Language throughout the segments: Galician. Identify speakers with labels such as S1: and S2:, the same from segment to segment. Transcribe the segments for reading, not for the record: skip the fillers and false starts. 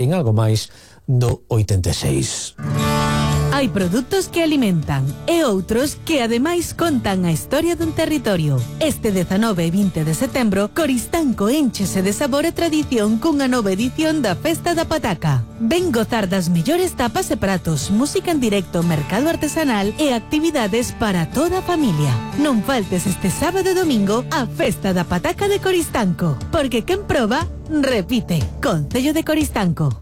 S1: en algo máis do 86.
S2: Hai produtos que alimentan e outros que ademais contan a historia dun territorio. Este 19 e 20 de setembro, Coristanco énchese de sabor e tradición cunha nova edición da Festa da Pataca. Ven gozar das mellores tapas e pratos, música en directo, mercado artesanal e actividades para toda a familia. Non faltes este sábado e domingo a Festa da Pataca de Coristanco, porque quen proba, repite. Concello de Coristanco.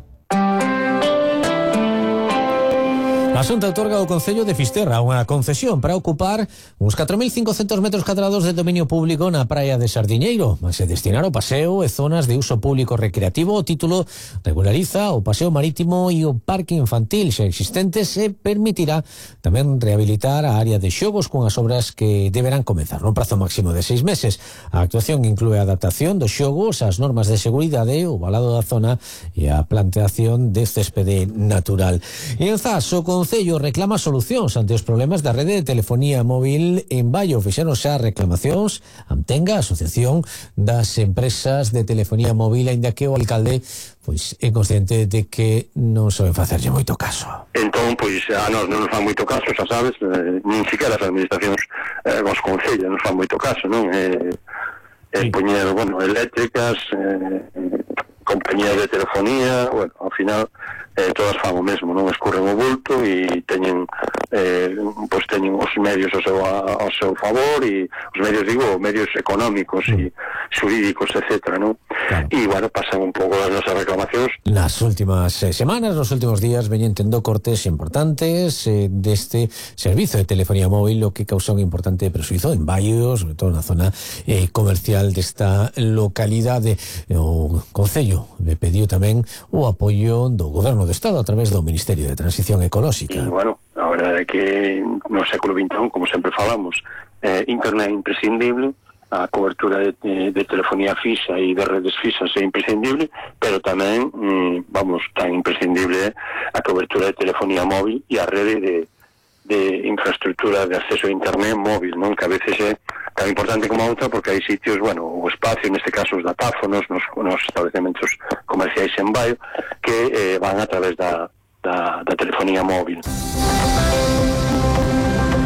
S1: A Xunta outorga ao Concello de Fisterra unha concesión para ocupar uns 4.500 metros cadrados de dominio público na praia de Sardiñeiro, mas se destinar ao paseo e zonas de uso público recreativo. O título regulariza o paseo marítimo e o parque infantil xa existentes e permitirá tamén rehabilitar a área de xogos cunhas obras que deberán comezar no prazo máximo de 6 meses. A actuación inclúe a adaptación dos xogos ás normas de seguridade, o valado da zona e a planteación de céspede natural. E en Zas, o Concello reclama solucións ante os problemas da rede de telefonía móvil en Baio. Fixeron xa reclamacións Amtenga, a Asociación das Empresas de Telefonía Móvil, aínda que o alcalde pois é consciente de que non soben facerlle moito caso.
S3: Entón, pois, a nós non nos fan moito caso, xa sabes, nin siquiera as administracións os concellos nos fan moito caso, non? Poñer, bueno, eléctricas, compañías de telefonía, bueno, ao final todas fan o mesmo, non escurren o bulto e teñen pois teñen os medios ao seu favor, e os medios, digo, medios económicos e xurídicos, etcétera, non? Claro. E, bueno, pasan un pouco as nosas reclamacións.
S1: Nas últimas semanas, nos últimos días, veñen tendo cortes importantes deste servizo de telefonía móvil, o que causa un importante presuizo en Baio, sobre todo na zona comercial desta localidade. O Concello le pediu tamén o apoio do Goberno do Estado a través do Ministerio de Transición Ecolóxica.
S3: E, bueno, a verdade é que no século XXI, como sempre falamos, internet é imprescindible, a cobertura de telefonía fixa e de redes fixas é imprescindible, pero tamén, tan imprescindible a cobertura de telefonía móvil e a rede de infraestructura de acceso a internet móvil, non? Que a veces é tan importante como a outra, porque hai sitios, bueno, o espacio, neste caso os datáfonos, nos establecementos comerciais en Baio, que van a través da telefonía móvil.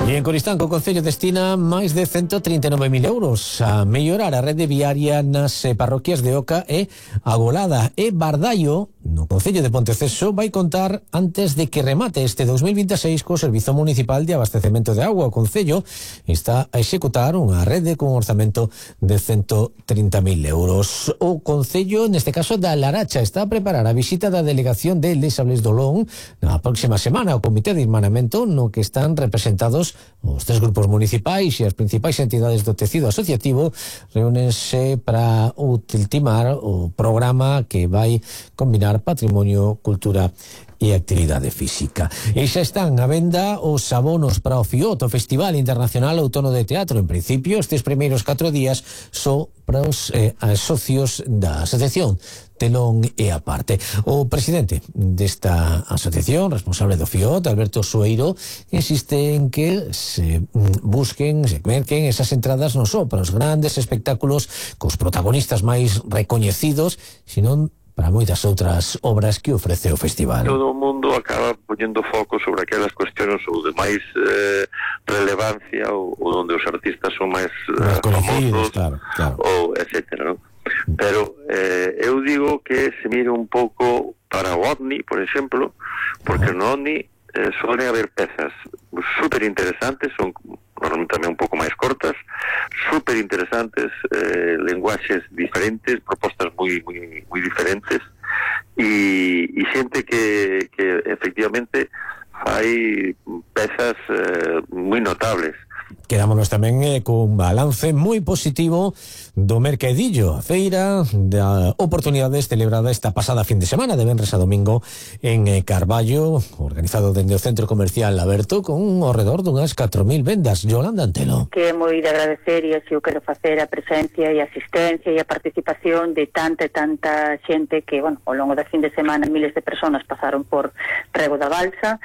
S1: E en Coristanco, o Concello destina máis de 139.000 euros a mellorar a rede viaria nas parroquias de Oca e Agolada. E Bardallo, no Concello de Ponteceso, vai contar antes de que remate este 2026 co Servizo Municipal de Abastecemento de Agua. O Concello está a executar unha rede con un orzamento de 130.000 euros. O Concello, neste caso da Laracha, está a preparar a visita da delegación de Lesables Dolón na próxima semana. O Comité de Irmanamento, no que están representados os 3 grupos municipais e as principais entidades do tecido asociativo, reúnense para ultimar o programa que vai combinar patrimonio, cultura e actividade física. E xa están a venda os abonos para o FIOT, o Festival Internacional Outono de Teatro. En principio, estes primeiros 4 días só para os socios da asociación Telón e Aparte. O presidente desta asociación, responsable do FIOT, Alberto Sueiro, insiste en que se busquen, se merquen esas entradas non só para os grandes espectáculos cos protagonistas máis recoñecidos, senón para moitas outras obras que ofrece o festival.
S4: Todo o mundo acaba poñendo foco sobre aquelas cuestiones ou de máis relevancia ou onde os artistas son máis famosos, claro. Ou etcétera, non? Pero eu digo que se mire un pouco para o OVNI, por exemplo, porque no OVNI suelen haber pezas super interesantes, son normalmente tamén un pouco máis cortas, super interesantes, lenguaxes diferentes, propostas moi diferentes, e xente que efectivamente fai pezas moi notables.
S1: Quedámonos tamén cun balance moi positivo do Mercadillo, a feira de oportunidades celebrada esta pasada fin de semana, de venres a domingo, en Carballo, organizado dende o Centro Comercial Aberto, con ao redor dunhas 4.000 vendas. Yolanda Antelo.
S5: Que é moi de agradecer, e así o quero facer, a presencia e a asistencia e a participación de tanta xente que, bueno, ao longo da fin de semana miles de personas pasaron por Rego da Balsa,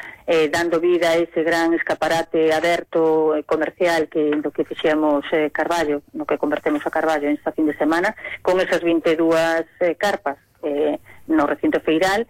S5: dando vida a ese gran escaparate aberto comercial do que fixemos Carballo, no que convertemos a Carballo esta fin de semana, con esas 22 carpas no recinto feiral,